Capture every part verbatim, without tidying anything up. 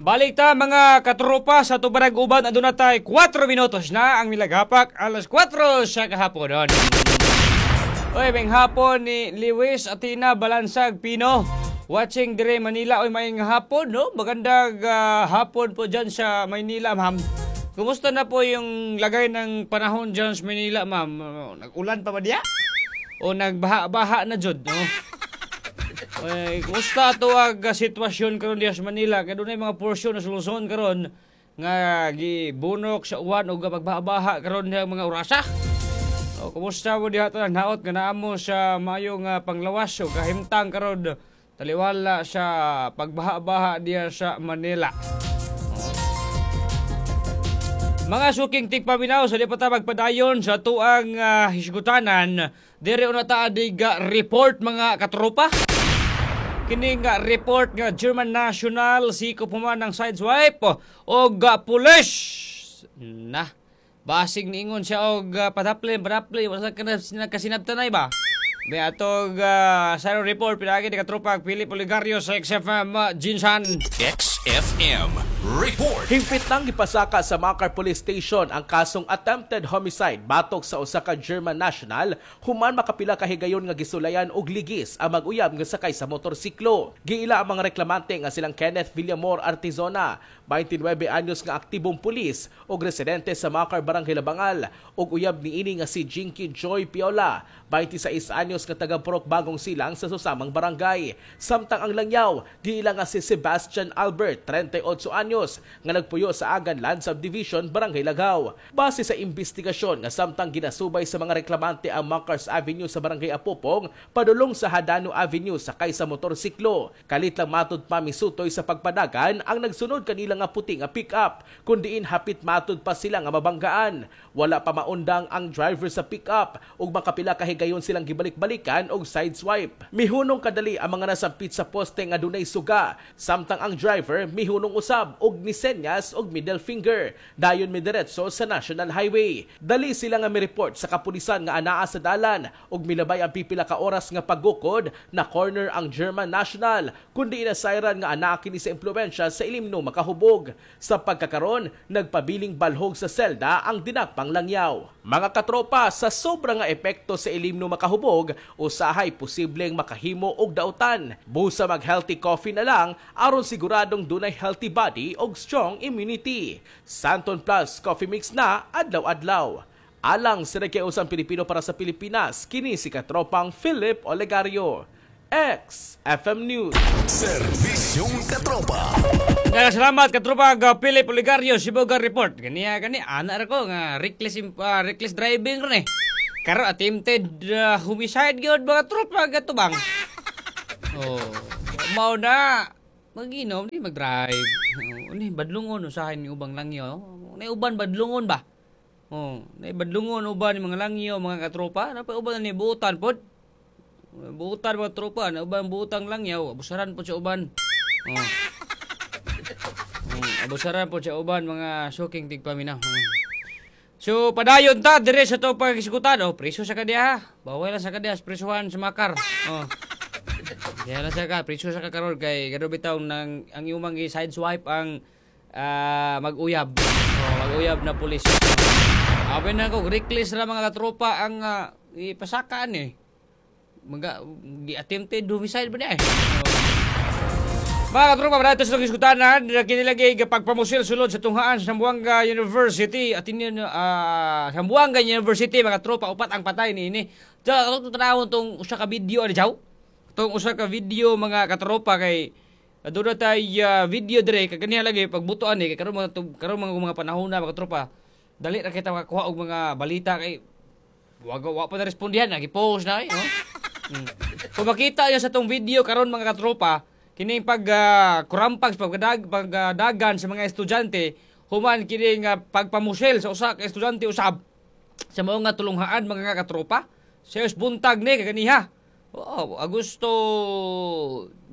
Balik ta, mga katropa, sa tubarag uban, aduna tay kuwatro minutos na ang milagapak alas kuwatro sa kahaponon. Oy, maayong hapon ni Lewis Atina Balansag Pino. Watching dire Manila. Oy, maayong hapon, no? Magandang ah, hapon po dyan sa Maynila, ma'am. Kumusta na po yung lagay ng panahon dyan sa Manila, ma'am? Nag-ulan pa ba diya? O nagbaha-baha na jud, no? Ay, kumusta ato ang uh, sitwasyon karon diya sa Manila? Kay dunay mga porsyon sa Luzon karon nga gibunok sa uwan ug pagbaha-baha karon diha mga orasa. O, kumusta mo diha tanan? Naot nga naa mo sa maayong uh, panglawas ug kahimtang karon taliwala sa pagbaha-baha diha sa Manila. Mga suking tigpaminaw, sa di pa ta magpadayon sa tuang uh, hisgutanan, diri una ta diga report, mga katropa. Kini nga report nga German national sikop human ng sideswipe og uh, pulis. Na basig niingon siya og uh, padaplin padaplin, wala ka na kasinabtanay ba? May atog uh, sa report pinagi ni katropa Philip Oligario sa X F M uh, Jinsan. X F M Report. Hingpit nang gipasaka sa Makar Police Station ang kasong attempted homicide batok sa usa ka German national human makapila ka higayon nga gisulayan og ligis ang mag-uyab nga sakay sa motorsiklo. Giila ang mga reklamante nga silang Kenneth Villamor Artizona, baynte nuwebe anyos nga aktibong pulis ug residente sa Makar, Barangay Labangal, ug uyab niini nga si Jinky Joy Piola, baynte sais anyos nga taga Purok Bagong Silang sa susamang barangay. Samtang ang langyaw, giila nga si Sebastian Albert, trentay otso anyos, nga nagpuyo sa Agan Land Subdivision, Barangay Lagaw. Base sa investigasyon nga samtang ginasubay sa mga reklamante ang Makars Avenue sa Barangay Apopong, padulong sa Hadano Avenue sakay sa motorsiklo. Kalit lang matud pa misutoy sa pagpadagan ang nagsunod kanila nga puti nga pick-up, kundiin hapit matud pa sila nga mabanggaan. Wala pa maundang ang driver sa pick-up ug makapila kahigayon silang gibalik-balikan og sideswipe. Mihunong kadali ang mga nasampit sa poste nga dunay suga, samtang ang driver mihunong usab og nisenyas og middle finger. Dayon midiretso sa National Highway. Dali sila nga mi-report sa kapulisan nga anaa sa dalan ug milabay ang pipila ka oras nga paggukod na corner ang German national, kundi inasayran nga anaa kini sa impluwensya sa ilimno makahubog. Sa pagkakaron, nagpabiling balhog sa selda ang dinakpang langyaw. Mga katropa, sa sobra nga epekto sa ilimno makahubog, usahay posibleng makahimo og dautan. Busa mag healthy coffee na lang aron siguradong dunay healthy body og strong immunity. Santon Plus Coffee Mix na adlaw-adlaw. Alang sa Usang Pilipino para sa Pilipinas, kini si katropang Philip Olegario. X F M News. Serbisyong Katropa. Kaya salamat, katropa uh, Philip Oligario, Sibuga Report. Ganiya gani ana ra ko nga reckless uh, reckless driving ron eh. Karon attempted uh, homicide gyud, mga tropa, gatubang. Oh, mao na maginom di mag-drive. Oh, ni badlungon usahay ni ubang langyo. Nay uban badlungon ba? Oh, nay badlungon uban ni mga langyo, mga katropa, na pa uban ni buutan pod. Buutan, mga tropa, na uban buutang langyaw, abusaran po sa uban. Oh. Oh, abusaran po sa uban, mga suking tigpaminaw. Oh. So padayon ta dire sa to pag-isgutan. Oh, preso sa kadiha. Bawal lang sa kadiha, presuhan sa Makar. Oh. Kaya lang sa ka, preso sa kakaroon kay gano bitaw nang ang imong side swipe ang ah, mag-uyab. Oh, mag-uyab na pulis. Abi na ko reckless ra, mga katropa, ang uh, ipasakaan eh. Mga attempted homicide ba niya eh. Oh. Mga katropa, marami sa diskutanan na kinilagay pagpamusil sulod sa tunghaan sa Zamboanga University at ini uh, Zamboanga University, mga tropa, upat ang patay ni ini. Diyan, tanawon tong usa ka video ani jaw. Tong usa ka video, mga katropa, kay doon na tay uh, video dire kay kaniya lagi pagbutoan ni kay karon mga karon mga mga panahon na, mga katropa, dali ra kita makakuha og mga balita kay wa wa pa na respondihan, nagi-post na eh, no? Hmm. Kung makita niyo sa tong video karon, mga katropa, kining pag uh, kurampag pagdadag pagdagan sa mga estudyante human kining uh, pagpamusil sa usa ka estudyante usab sa mao nga tulunghaan, mga katropa, sa buntag ni kaganiha. Oo, Agosto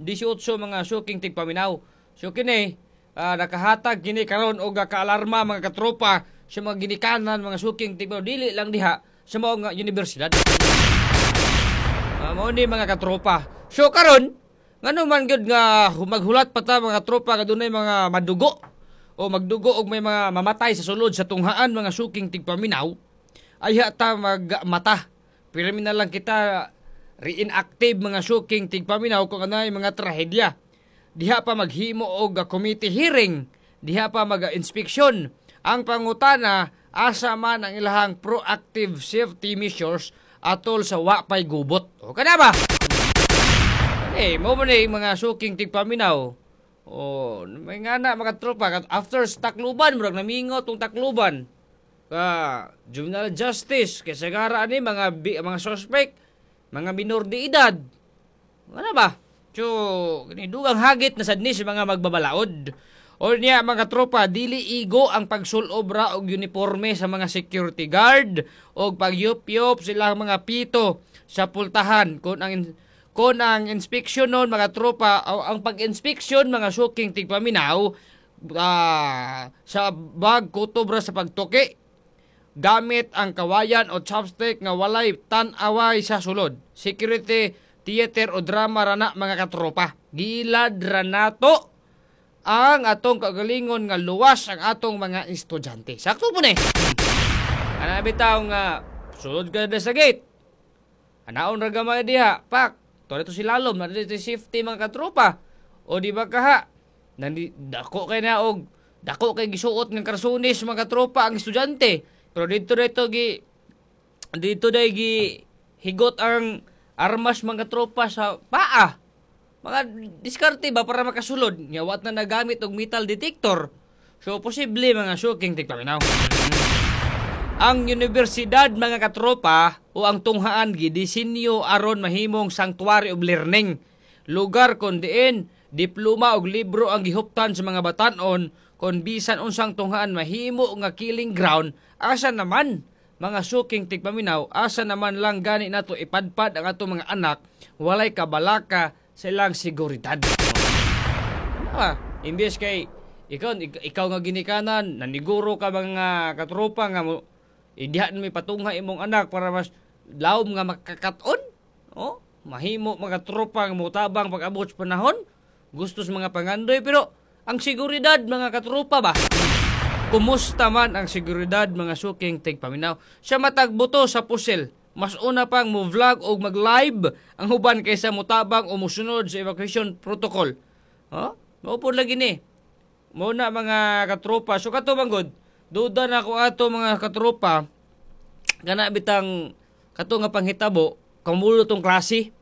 labing-walo, mga suking tigpaminaw. So kini uh, nakahatag kini karon og kaalarma, mga katropa, sa mga ginikanan, mga suking tigpaminaw, dili lang diha sa mao nga universidad. Uh, mao ni, mga katropa. So karon Ngano man gyud nga maghulat pa ta, mga tropa, nga dunay mga madugo o magdugo og may mga mamatay sa sulod sa tunghaan, mga suking tigpaminaw, ayha ta magmata. Pero na lang kita reinactive, mga suking tigpaminaw, kung ano ay mga trahedya. Diha pa maghimo og committee hearing, diha pa mag-inspeksyon. Ang pangutana, asa man ang ilahang proactive safety measures atol sa wa pay gubot? O kana ba? Eh, mo man eh, mga suking tigpaminaw. O, may nga na mga tropa, after sa Tacloban, murag namingaw tong Tacloban. Ka juvenile justice, kay sagara ani mga mga suspect, mga minor de edad. Ano ba? So, kini dugang hagit na sad ni sa mga magbabalaod. O niya, mga tropa, dili igo ang pagsulob ra og uniforme sa mga security guard o pagyup-yup sila mga pito sa pultahan kung ang kung ang inspection nun, mga tropa, o ang pag-inspection, mga suking tigpaminaw, uh, sa bag kutob ra sa pagtuki gamit ang kawayan o chopstick nga walay tan-away sa sulod. Security theater o drama ra na, mga katropa. Gilad ra nato ang atong kagalingon nga luwas ang atong mga estudyante. Sakto po ni. Ana bitaw nga sulod ka na sa gate. Anaon ra gamay diha, pak. To si lalom, na dito safety, mga katropa. O di ba kaha? Nandi dako kay na og dako kay gisuot ng karsunis, mga katropa, ang estudyante. Pero dito dito gi dito day gi higot ang armas, mga tropa, sa paa. Mga diskarte ba para makasulod? Nga wat na nagamit og metal detector. So posible, mga suking tigpaminaw. Ang universidad, mga katropa, o ang tunghaan gidisenyo aron mahimong sanctuary of learning. Lugar kon diin diploma og libro ang gihuptan sa mga batan-on. Kon bisan unsang tunghaan mahimo nga killing ground, asa naman, mga suking tigpaminaw, asa naman lang gani nato ipadpad ang atong mga anak walay kabalaka sa ilang seguridad? Ah, imbes kay ikaw ikaw nga ginikanan, naniguro ka, mga katropa, nga mo idiha may patungha imong anak para mas lawom nga makakaton. Oh, mahimo, mga tropa, nga motabang pag-abot sa panahon, gusto sa mga pangandoy, pero ang seguridad, mga katropa ba? Kumusta man ang seguridad, mga suking tigpaminaw? Sa matag buto sa pusil, mas una pang mo vlog o mag-live ang huban kaysa motabang o mosunod sa evacuation protocol. Oh, mao pod lagi ni. Mao na, mga katropa. So kato man gud, duda na ko ato, mga katropa, kana bitang kato nga panghitabo, kamulo tong klase.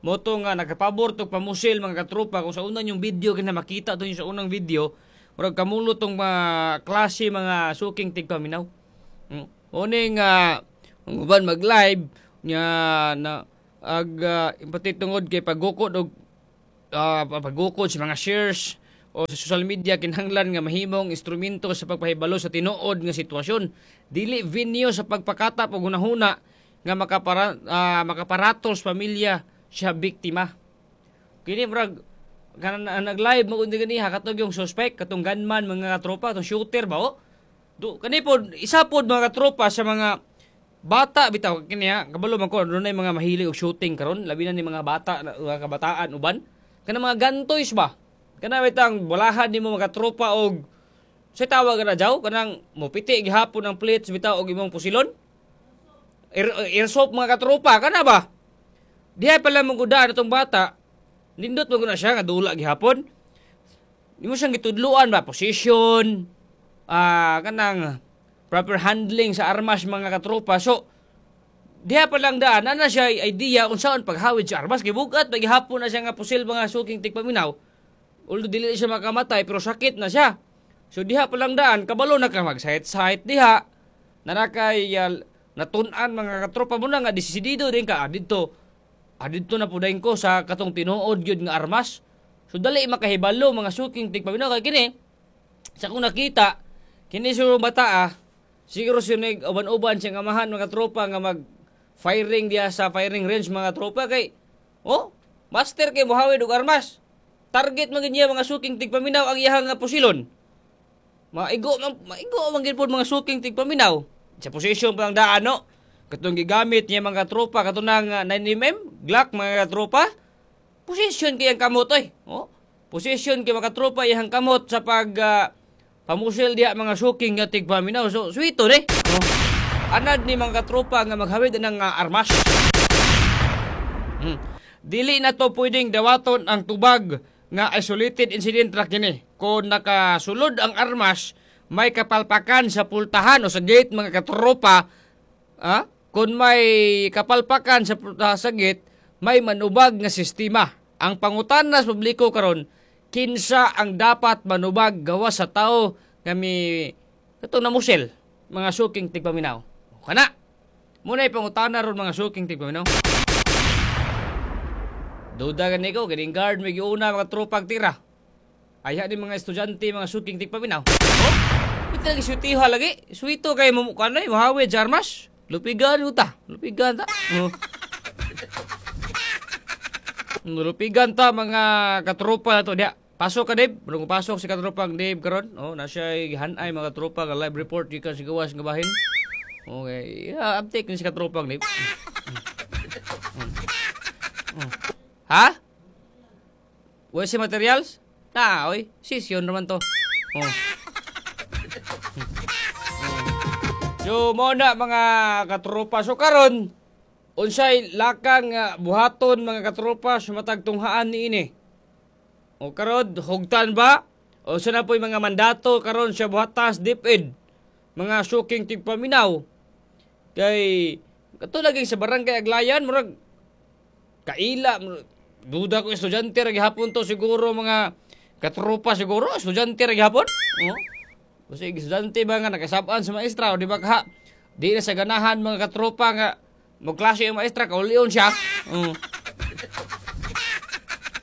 Mo to nga nagapabor tong pamusil, mga katropa, kung sa unang yung video kina makita to yung sa unang video, murag kamulo tong mga klase, mga suking tigpaminaw. Mm. Uning uh, ang uban mag-live nya na ag uh, pati tungod kay paggukod og uh, paggukod sa mga shares o sa social media, kinahanglan nga mahimong instrumento sa pagpahibalo sa tinuod nga sitwasyon, dili venue sa pagpakatap og hunahuna nga makapara, uh, makaparatol sa pamilya siya biktima. Kini murag kanang nag-live mo kundi ganiha katong yung suspect, katong gunman, mga katropa, katong shooter ba, oh. Do kani pod isa pod, mga katropa, sa mga bata bitaw kini ha, kabalo man ko dunay mga mahilig og shooting karon, labi na ni mga bata, mga kabataan uban kana mga gun toys ba, kana bitang bolahan nimo, mga tropa, og sa tawag na jaw kanang mopiti gihapon ang plates bitaw og imong pusilon, Air, airsoft, mga katropa, kana ba? Diha pala mong gudaan atong bata, nindot mo na siya nga dula gihapon. Di mo siyang gitudluan ba position, ah, kanang proper handling sa armas, mga katropa. So diha pa lang daan na na siya idea kung saan paghawid sa armas kay bugat gihapon na siya nga pusil, mga suking tigpaminaw. Although dili siya makamatay, pero sakit na siya. So diha pa lang daan kabalo na ka mag-sight-sight diha. Narakay uh, natun-an, mga katropa mo na nga desidido din ka, ah, didto ah, didto na pudayin ko sa katong tinuod gyud nga armas. So dali makahibalo, mga suking tigpaminaw, kay kini sa akong nakita kini siguro bata, ah, siguro sinig uban-uban siyang amahan, mga tropa, nga mag firing diya sa firing range, mga tropa, kay oh master kay mohawid og armas. Target man gid niya, mga suking tigpaminaw, ang iyahang nga pusilon. Maigo man, maigo man gid pod, mga suking tigpaminaw, sa position pa lang daan, no? Katong gigamit niya, mga tropa, katong nang nine millimeter Glock, mga tropa. Position kay ang kamot oy. Oh, position kay makatropa iyang kamot sa pag uh, pamusil diha mga suking nga tigpaminaw. So sweeto ni. Oh. Anad ni mga katropa nga maghawid ng uh, armas. Hmm. Dili na to pwedeng dawaton ang tubag nga isolated incident ra kini. Kung nakasulod ang armas, may kapalpakan sa pultahan o sa gate mga katropa. Ah? Kung may kapalpakan sa pultahan sa gate, may manubag nga sistema. Ang pangutana sa publiko karon, kinsa ang dapat manubag gawas sa tao nga mi katong namusil mga suking tigpaminaw. Kana. Muna ipangutana ron mga suking tigpaminaw. Duda gani ko kining guard may giuna mga tropag tira. Ayha ni mga estudyante mga suking tigpaminaw. Oh, bitaw giswitiha lagi. Swito kay mo kanay mohawid sa armas. Lupigan uta, lupigan ta. Oh. Lupigan ta mga katropa na to diha. Pasok ka Dave, murag pasok si katropang Dave karon. Oh, na siya gihanay mga katropa nga live report gikan sa gawas nga bahin. Okay, yeah, update ni si katropang Dave. Mm. Mm. Ha? Wala si materials? Na, oy, session naman to. Oh. So, mo na mga katropa. So karon, unsay lakang uh, buhaton mga katropa sumatag tunghaan niini. O karon, hugtan ba? O sa na po'y mga mandato karon sa buhatas DepEd. Mga suking tigpaminaw. Kay kato laging sa barangay Aglayan, murag kaila, murag, duda ko estudyante ra gihapon to siguro mga katropa siguro estudyante ra gihapon. Oh. Kasi estudyante ba nga nakasab-an sa maestra o di ba ka di na sa ganahan mga katropa nga magklase ang maestra kaulion siya. Oh.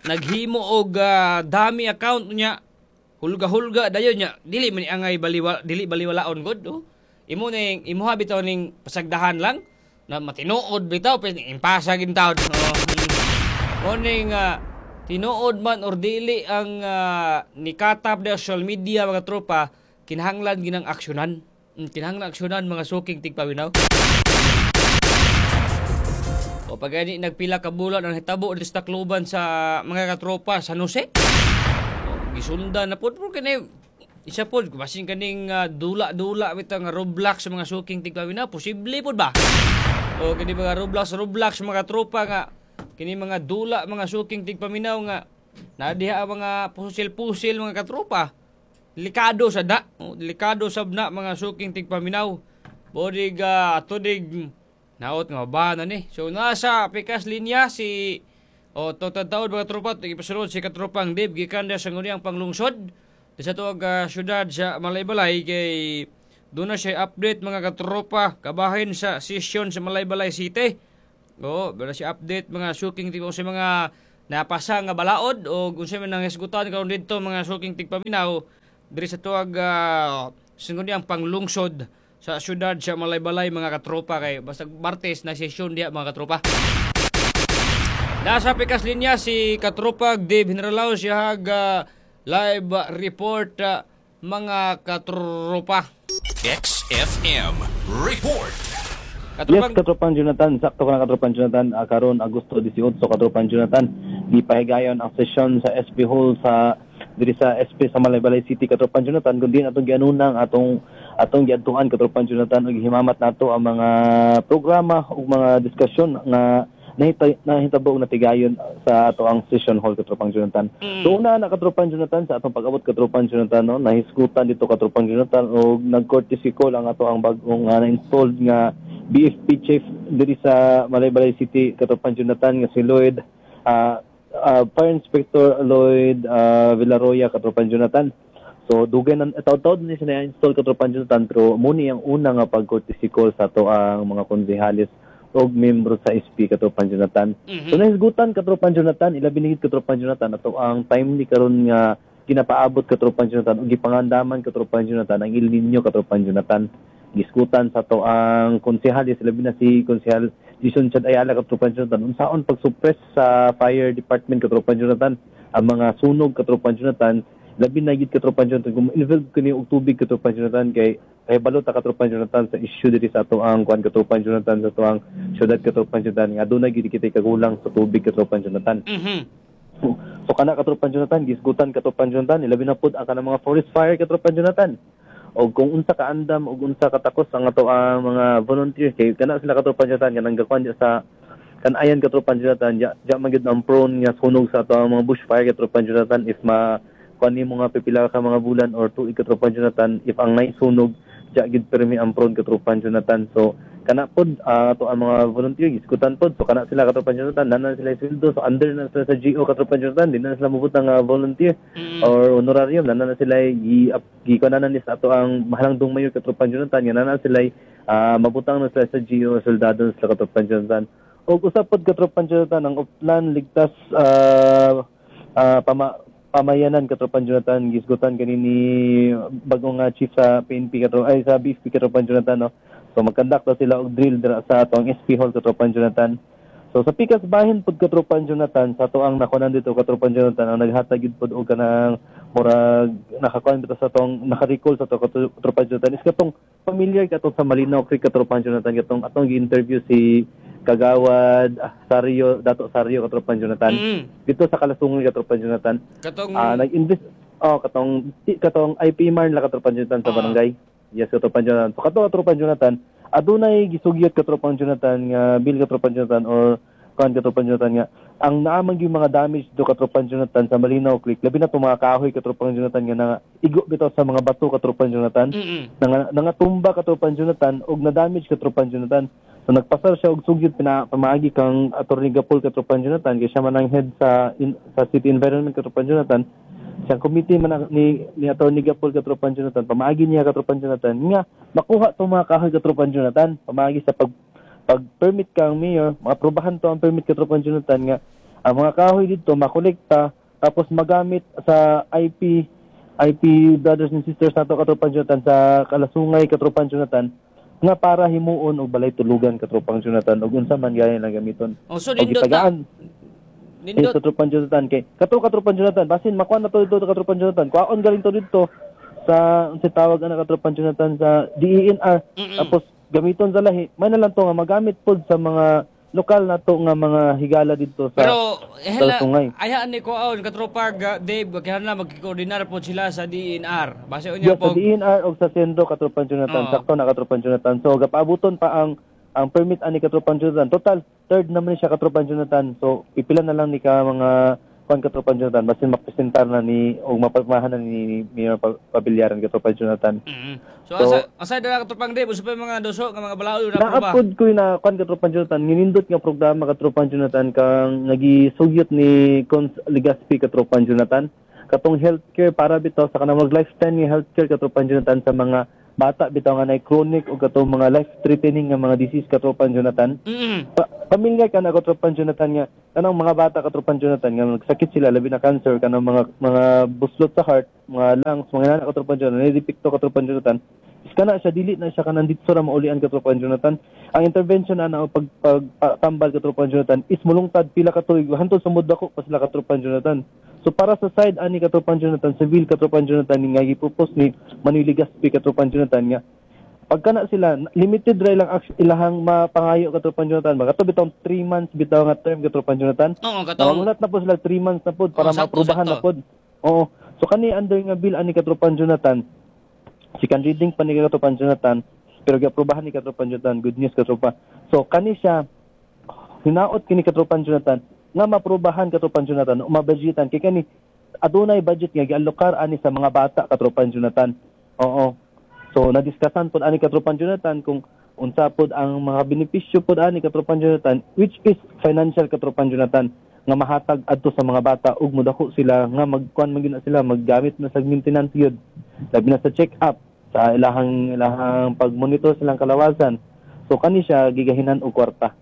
Naghimo og uh, dami account niya. Hulga-hulga dayon niya. Dili man angay baliwa, dili baliwalaon gud. Oh. Imo ning imuha bitaw ning pasagdahan lang na matinuod bitaw pero impasa gid taon. Oh. Mo ning uh, tinuod man or dili ang uh, nikatap sa social media mga tropa, kinahanglan ginang aksyonan. Kinahanglan aksyonan mga suking tigpaminaw. O pag gani nagpila ka bulan ang hitabo dito sa Tacloban sa mga katropa sa Jose. O, gisundan na pod pero kini isa pod basin kaning uh, dula-dula bitaw nga Roblox sa mga suking tigpaminaw, posible pod ba? O kini mga Roblox Roblox mga tropa nga kini mga dula mga suking tigpaminaw nga nadiha ang mga pusil-pusil mga katropa. Delikado sa da, o, delikado sab na mga suking tigpaminaw. Bodig uh, tudig naot nga ba na ni. So nasa pikas linya si o totad taod mga tropa, ipasulod si katropang Dave gikan sa nguniyang panglungsod di sa tuag uh, syudad sa Malaybalay kay doon na siya update mga katropa kabahin sa session sa Malaybalay City. O, doon na siya update mga suking tigpaminaw sa mga napasa nga balaod o kung siya man nangisgutan karon didto mga suking tigpaminaw diri sa tuag uh, sa nguniyang panglungsod sa syudad sa Malaybalay mga katropa kay basta Martes na session diha mga katropa. Nasa pikas linya si katropa Dave Generalao siya uh, live report uh, mga katropa. X F M Report. Katropang... Yes, katropang Jonathan, sakto ka na katropang Jonathan, uh, karon Agosto eighteen katropang Jonathan, gipahigayon ang session sa S P Hall sa diri sa S P sa Malaybalay City katropang Jonathan, kundi atong gianunang atong atong giadtuan katropang Jonathan ug himamat nato ang mga programa ug mga diskusyon nga nahita, nahitabo og natigayon sa ato ang session hall katropang Jonathan. Mm. So una na katropang Jonathan sa atong pag-abot katropang Jonathan no, nahisgutan dito katropang Jonathan og nag-courtesy call ang ato ang bag-ong uh, na-installed nga B F P chief diri sa Malaybalay City katropang Jonathan nga si Lloyd uh, uh, Fire Inspector Lloyd uh, Villaroya katropang Jonathan. So dugay na taud-taud ni siya na-install katropang Jonathan pero muni ang una nga pag-courtesy call sa ato ang mga konsehalis og membro sa S P katropang Jonathan. Mm-hmm. So nahisgutan katropang Jonathan, ilabi ni katropang Jonathan ato ang timely karon nga ginapaabot katropang Jonathan ug gipangandaman katropang Jonathan ang El Niño katropang Jonathan. Gisgutan sa ato ang konsehalis labi na si Konsehal Jason Chad Ayala katropang Jonathan unsaon pag-suppress sa fire department katropang Jonathan ang mga sunog katropang Jonathan labi na gid katropang Jonathan kung involved kini og tubig katropang Jonathan kay kay balot ta katropang Jonathan sa issue diri sa ato ang kuan katropang Jonathan sa ato ang syudad katropang Jonathan nga adunay gid kitay kagulang sa tubig katropang Jonathan. Mm-hmm. So kana, katropan Jonathan, gisgutan, katropan Jonathan, ilabi na pud ang kanang mga forest fire, katropan Jonathan. Og kung unsa ka andam og unsa katakos ang ato ang mga volunteers kay kana sila, katropan Jonathan, kanang gakuan diya sa kanayan, katropan Jonathan, diya, diya man gyud ang prone nga sunog sa ato ang mga bushfire, katropan Jonathan. If ma kuan nimo nga pipila ka mga bulan or tuig, katropan Jonathan, if ang naisunog diya gyud permi ang prone, katropan Jonathan. So kana pod, ah, ato ang mga volunteer gisgutan pod. So kana sila, katropan Jonathan, naa na sila sweldo, so under na sila sa G O, katropan Jonathan. Di na sila mubutang nga volunteer Mm. or honorarium. Naa na sila gi gi na ni sa ato ang mahalangdong mayor, katropan Jonathan, nga naa na sila, ah, mabutang na sila sa G O, soldado na sila, katropan Jonathan. Og usa pod, katropan Jonathan, ang Oplan Ligtas ah, ah, pama pamayanan, katropan Jonathan, gisgutan kani ni bagong nga chief sa P N P katro ay sa B F P, katropan Jonathan, no. So mag-conduct daw sila og drill dira sa atong S P Hall, katropan Jonathan. So sa pikas bahin pud, katropan Jonathan, sa ato ang nakunan dito, katropan Jonathan, ang naghatag gyud pud og kanang murag nakakuan bitaw sa atong naka-recall sa ato, katropan Jonathan, is katong familiar kato sa Malinaw Creek, katropan Jonathan, katong atong gi-interview si Kagawad ah, Sario, Dato Sario, katropan Jonathan. Mm. Dito sa Kalasungan, katropan Jonathan. Katong Ah, nag-invest, oh, katong katong I P Marn la, katropan Jonathan, sa Ah. barangay. Yes, katropan Jonathan. So kato, katropan Jonathan, adunay gisugyot, katropan Jonathan, nga bill, katropan Jonathan, or kuan, katropan Jonathan, nga ang naamang yung mga damage do, katropan Jonathan, sa Malinaw Creek, labi na itong mga kahoy, katropan Jonathan, nga na igo bitaw sa mga bato, katropan Jonathan, Mm. nanga, nangatumba, katropan Jonathan, og na-damage, katropan Jonathan. So nagpasar siya og sugyot pina pamaagi kang Attorney Gapol, katropan Jonathan, kay siya man ang head sa in, sa city environment, katropan Jonathan. Siyang committee man ang- ni ni Attorney Gapol, katropan Jonathan, pamaagi niya, katropan Jonathan, nga makuha tong mga kahoy, katropan Jonathan, pamaagi sa pag pag permit kang mayor, maaprubahan to ang permit, katropan Jonathan, nga ang mga kahoy dito makolekta tapos magamit sa I P I P brothers and sisters nato, katropan Jonathan, sa Kalasungay, katropan Jonathan, nga para himuon og balay tulugan, katropang Jonathan, ug unsa man gani lang gamiton. Oh, so Og nindot na. gitagaan. Yes, Nindot. katropan Jonathan, kay kato, katropan Jonathan, basin makuha na to dito, katropan Jonathan. Kuhaon galing to dito sa unsa tawag ana, katropan Jonathan, sa D E N R. Mm-mm. Tapos gamiton sa lahi. May na lang to nga magamit pod sa mga lokal na to nga mga higala dito sa Pero hala, Kalasungay. ayaan ni kuhaon, katropag uh, Dave, kaya na magkoordinar po sila sa D E N R. Base unya Yes, sa po. D E N R o sa Sendo, katropan Jonathan. Oo. Sakto na, katropan Jonathan. So gapaabuton pa ang ang permit ani, katropan Jonathan. Total third naman ni siya, katropan Jonathan. So pipila na lang ni ka mga kuan, katropan Jonathan, basin mapresentar na ni o mapagmahan na ni Mayor Pa- Pabilyaran, katropan Jonathan. Mm. So, So, asa aside na, katropang Dave, usa pa yung mga duso nga mga balaod na ba? Naa pod ko na kuan, katropan Jonathan, nginindot nga programa, katropan Jonathan, kang nagisugyot ni Cons Legaspi, katropan Jonathan, katong healthcare para bitaw sa kanang mag lifetime nga healthcare, katropan Jonathan, sa mga bata bitaw nga nay chronic o katong mga life threatening nga mga disease, katropan Jonathan. Mm. Pa- pamilyar ka na, katropan Jonathan, nga kanang mga bata, katropan Jonathan, nga nagsakit sila, labi na cancer, kanang mga mga buslot sa heart, mga lungs, mga nana, katropan Jonathan, nidipikto, katropan Jonathan, is kana siya dili na siya kanang ditso ra maulian, katropan Jonathan. Ang intervention na na o pag, pag pa- tambal, katropan Jonathan, is mulungtad pila ka tuig hantod sa mudako pa sila, katropan Jonathan. So para sa side ani, katropan Jonathan, sa bill, katropan Jonathan, nga gipropose ni Manuel Legaspi, katropan Jonathan, nga pagka na sila limited ra ilang action, ilahang mapangayo, katropan Jonathan, ba kato bitong three months bitaw nga term, katropan Jonathan. Oo, katong Nawagulat na po sila three months na pod para Oo, sakto, maaprubahan na sakto. pod. Oo. So kani under nga bill ani, katropan Jonathan, second reading pa ni, katropan Jonathan, pero giaprobahan ni, katropan Jonathan. Good news, katropa. So kani siya hinaot kini, katropan Jonathan, nga maprobahan, katropan Jonathan, o mabudgetan kay kani adunay budget nga gialokar ani sa mga bata, katropan Jonathan. Oo. So nadiskusan pod ani, katropan Jonathan, kung unsa pod ang mga benepisyo pod ani, katropan Jonathan, which is financial, katropan Jonathan, nga mahatag adto sa mga bata ug modako sila nga magkuan man gyud na sila, maggamit na sa maintenance yun, labi na sa check up sa ilahang ilahang pag-monitor silang kalawasan. So kani siya gigahinan og kwarta.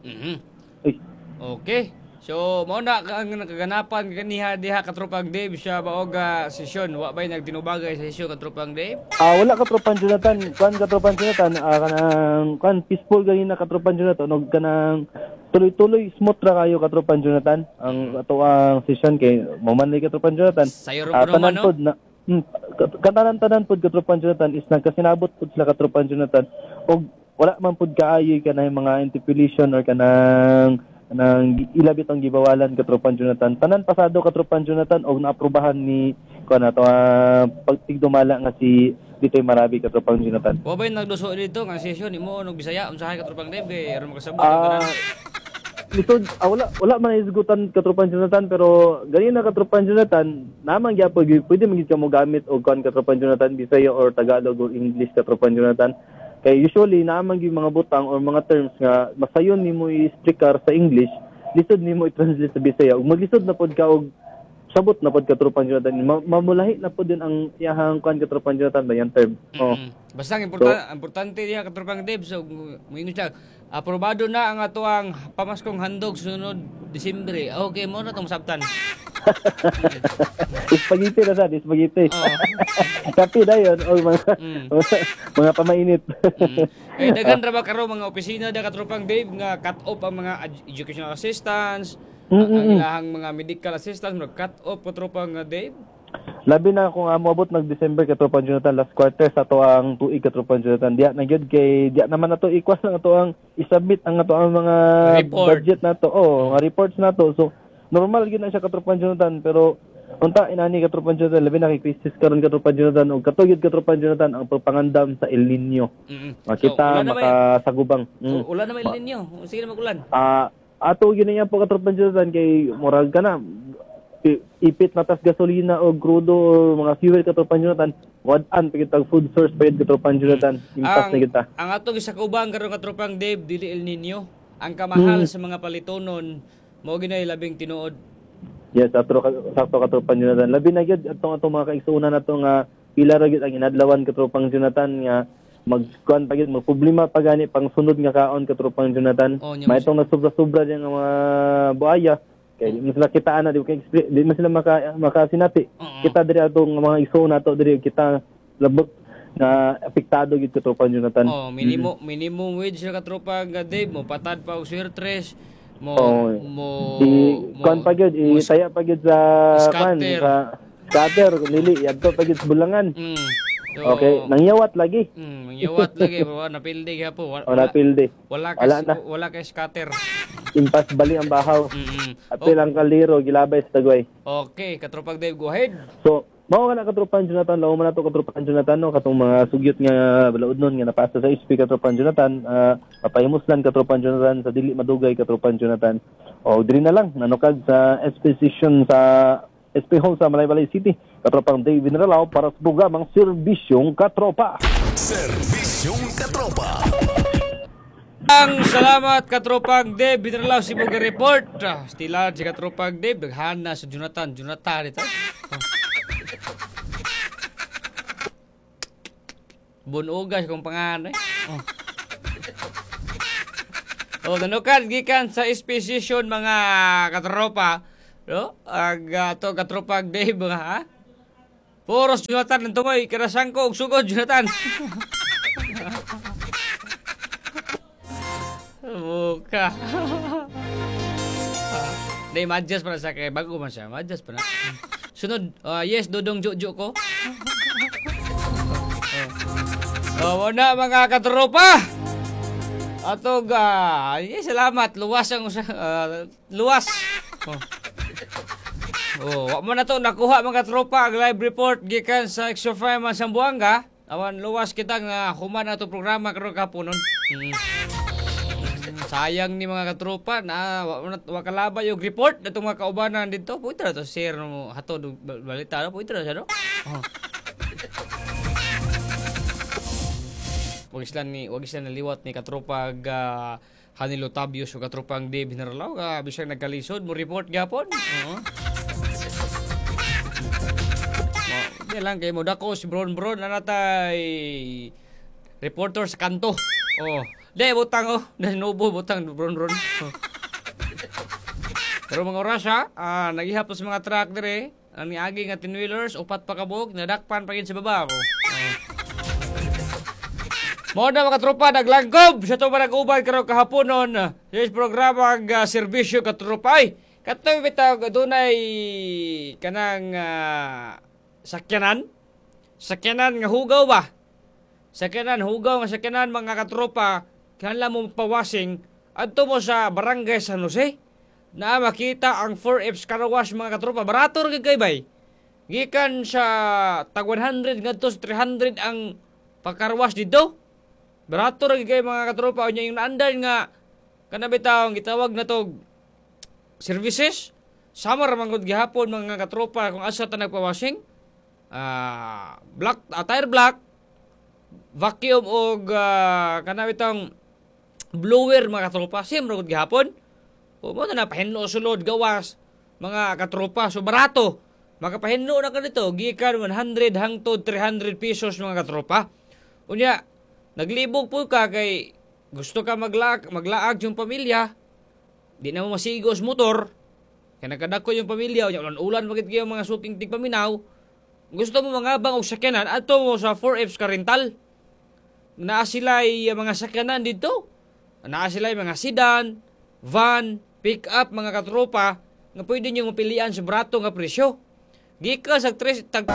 Mhm. Uy. Okay. So, mao na ang nakaganapan kaniha diha, katropang Dave, sa Baoga sesyon. Wa bay nagtinubagay sa sesyon, katropang Dave? Ah, wala, katropan Jonathan. Kuan, katropan Jonathan, ah, kanang kuan peaceful ganina, katropan Jonathan, og kanang tuloy-tuloy smooth ra kayo, katropan Jonathan. Ang ato ang session kay mo man lay, katropan Jonathan. Sayo Ah, ra tanan man, no? pod na mm, kat- katanan-tanan pod, katropan Jonathan, is nagkasinabot pod sila, katropan Jonathan. Og wala man pod kaayo kanang mga interpellation or kanang Kanang ila bitong gibawalan, Katropan Jonathan. Tanan pasado, Katropan Jonathan, og naaprubahan ni kuan ato uh, pagtigdumala nga si Litoy Marabi, Katropang Jonathan. Wa ba'y nagduso dito nga session imo og Bisaya unsahay, Katropang Dave, kay aron makasabot Ah, ang tanan? Lisod, ah, wala wala man hisgutan, Katropan Jonathan, pero ganina, Katropan Jonathan, naman gyapon gyud pwede man gyud ka mo gamit og kuan, Katropan Jonathan, Bisaya or Tagalog or English, Katropan Jonathan, kay usually naman gyud mga butang or mga terms nga masayon nimo i-explicar sa English, lisod nimo i-translate sa Bisaya ug maglisod na pod ka og sabot na pod, Katropan Jonathan. Ma- mamulahi na pod din ang iyahang kuan, Katropan Jonathan, ba yang term oh. Mm. Basta ang importa- importante niya, Katropang Dave, so moingon siya, aprobado na ang atoang pamaskong handog sunod Disyembre. Okay mo na tong masabtan. Spaghetti na sad, spaghetti. Oo. Kape dayon o mga Mm. mga pamainit. Mm. Eh daghan ra ba karon mga opisina da, Katropang Dave, nga cut off ang mga ed- educational assistants, Mm, ang mm, mm. ilahang mga medical assistants, mga cut off, Katropang uh, Dave. Labi na kung uh, moabot nag December, Katropan Jonathan, last quarter sa ato ang tuig, Katropan Jonathan. Diya na gyud kay diya naman nato ikwas lang ato ang isubmit ang ato ang mga Report. budget nato. Oh, mga reports nato. So normal gyud na siya, Katropan Jonathan, pero unta inani, Katropan Jonathan, labi na kay crisis karon, Katropan Jonathan, ug kato gyud, Katropan Jonathan, ang pagpangandam sa El Nino. Mm. Makita So, ulan na ba makasagubang. Mm. Ulan na may El Nino. Sige na magulan. Ah, ato gyud niya po, Katropan Jonathan, kay murag ka na i- ipit na tas gasolina o krudo o mga fuel, Katropan Jonathan, wad-an pa kitag food source pa yun, Katropan Jonathan, impas Ang na kita. ang atong isakubang karon, Katropang Dave, dili El Nino. Ang kamahal Mm. sa mga palitonon mao ginay labing tinuod. Yes, ato sakto, Katropang Jonathan. Labi na gyud atong atong mga kaigsuonan nato nga pila ra gyud ang inadlawan, Katropang Jonathan, nga magkuan pa gyud, magproblema pa gani pang sunod nga kaon, Katropang Jonathan. Oh, nya May itong nasobra-sobra diyan nga mga buaya kay di man sila kitaan na di kay di man sila maka makasinati. Oo. Kita diri atong mga igsoon nato diri kita labot na apektado gyud, Katropang Jonathan. Oh, minimum minimum wage sa katropang uh, Dave mo patad pa og swertres mo Oo. mo I mo kuan pa gyud, mo- itaya pa gyud sa kuan Scatter. sa scatter dili yadto pa gyud sa bulangan. Mm. So, Okay, nangyawat lagi. Mm, mangyawat lagi wa napildi gyapon. Wala, O napildi. wala Wala kay na. wala kay scatter. Impas bali ang bahaw. Mm. Apil ang kaldero gilabay sa tagway. Okay, Katropang Dave, go ahead. So, mao ka na, Katropan Jonathan, laom man nato, Katropan Jonathan, no, katong mga sugyot nga balaod nun nga napasa sa S P, Katropan Jonathan, uh, papahimuslan, Katropan Jonathan, sa dili madugay, Katropan Jonathan. O diri na lang nanukag sa S P session sa S P Hall sa Malaybalay City. Katropang David Ralao para sa programang Serbisyong Katropa. Serbisyong Katropa. Ang salamat, Katropang Dave Binarlaw Cebu Report. Ah, Stila si Katropang Dave daghana sa Jonathan, Jonathan ito. Oh. Bunugas kung pangan eh. Oh. Oh, nanukan gikan sa S P session, mga katropa. No? Ag uh, to Katropang Dave mga ha. Puros Jonathan ang tumoy karasangko og sugod Jonathan. Buka. Di, ma-adjust pa na sa kay bago man siya. Ma-adjust pa na. Sunod, ah, yes, Dodong Jojo ko. Oh, oh na mga katropa. Atog, ah, yes, salamat. Luwas ang usa, ah, luwas. Oh. Oh, wa mo na to nakuha, mga tropa, ang live report gikan sa X F M Zamboanga. Awan luwas kita nga human ato programa karon kapunon. Mm. Mm, sayang ni mga katropa na wa, wa, wa kalabay og report atong mga kaubanan didto. Pwede ra to share mo hatod og bal- balita no? Pwede ra siya no? Oh. Wag sila ni wag sila naliwat ni katropag uh, Hanilo Tabios o Katropang Dave Hinarlaw ka bisag nagkalisod mo report gyapon. Oo. Mo, di lang kay mo dako si Bron Bron na natay reporter sa kanto. Oh. Di butang oh, nubo butang Bron Bron. Oh. Pero mga oras ha, ah, nagihap sa mga truck dire, ang niagi nga ten wheelers, upat pa kabog, nadakpan pa gid sa baba. Oh. Oh. Mo na mga tropa, naglangkob sa itong nag-uban karong kahaponon. Sa programa ang uh, serbisyo katropa. Ay, katoy bitaw dunay kanang ah, sakyanan. Sakyanan nga hugaw ba? Sakyanan hugaw nga sakyanan, mga katropa, kinahanglan mo pawasing Adto mo sa Barangay San Jose na makita ang four F's Car Wash, mga katropa. Barato ra gid kay, bay. Gikan sa tag one hundred ngadto sa three hundred ang pag-car wash dito. Barato ra gid kay, mga katropa. Unya yung naandan nga kana bitaw gitawag na to services. Sama ra man gud gihapon, mga katropa, kung asa ta nagpa-washing. Ah, black ah, tire black, vacuum og uh, kana bitang blower, mga katropa. Same ra gud gihapon. O mo na napahinlo sulod gawas, mga katropa. So barato. Makapahinlo na ka dito gikan one hundred hangtod three hundred pesos, mga katropa. Unya naglibog po ka kay gusto ka maglaag, maglaag yung pamilya, di na mo masigo sa motor, kay nagkadako yung pamilya, unya ulan-ulan magit kayo, mga suking tigpaminaw, gusto mo mangabang og sakyanan, adto mo sa four F's Car Rental. Naa sila'y mga sakyanan dito. Naa sila'y mga sedan, van, pick up, mga katropa, nga pwede nyo mapilian sa barato nga presyo. Gikan sa tres, tag